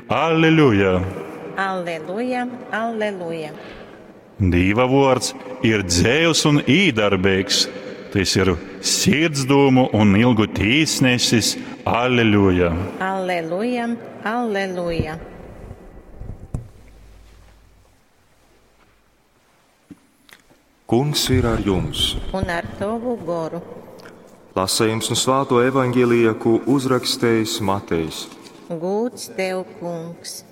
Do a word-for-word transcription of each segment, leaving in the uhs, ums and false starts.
Alleluja! Alleluja, alleluja! Dīva vōrds ir dzeivs un īdarbeigs. Tys ir sirdsdūmu un ilgu tīsnesis. Alleluja! Alleluja, alleluja! Kungs ir ar jums! Un ar tovu goru. Lasījums no Svāto evaņģēlija, ko uzrakstījis Matejs. Gūds tev, kungs!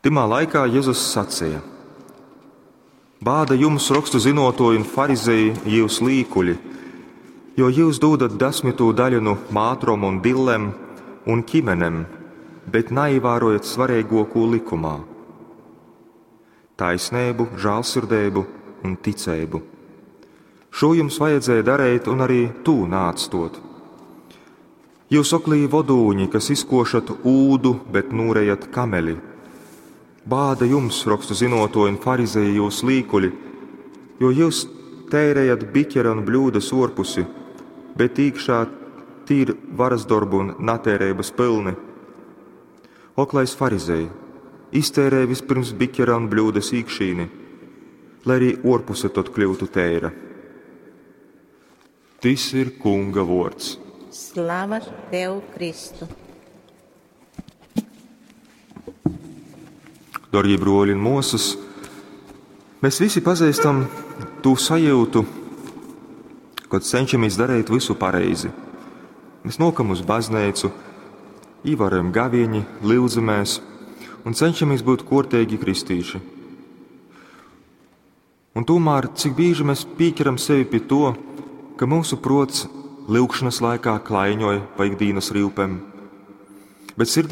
Tymā laikā Jēzus sacīja: Bāda jums, rakstu zinotoji un farizeji, jūs līkuļi, jo jūs dūdat desmitū daļu no mātrom un dillem un ķimenem, bet neievērojat svarīgāko likumā - taisnību, žēlsirdību un ticību. Šo jums vajadzēja darīt un arī tū nāc tot. Jūs oklī vodūņi, kas izkošat ūdu, bet nūrejat kameli. Bāda jums, rakstu zinotoji un farizeji, jūs līkuļi, jo jūs tērējat biķera un bļūdas orpusi, bet iekšā tīri varas darbu un natērības pilni. Oklais farizei, iztērē vispirms biķera un bļūdas iekšīni, lai arī orpuse tad kļūtu tēra. Tis ir Kunga vārds. Slava tev, Kristu! Darbie broļi un māsas, mēs visi pazīstam to sajūtu, kad cenšamies darīt visu pareizi. Mēs nokam uz baznīcu, ievērojam gaviņi, lūdzamies un cenšamies būt kortīgi kristīši. Un tomēr, cik bieži mēs pieķeram sevi pie to, ka mūsu prots lūgšanas laikā klaiņoja pa ikdienas rīpēm, bet sirdī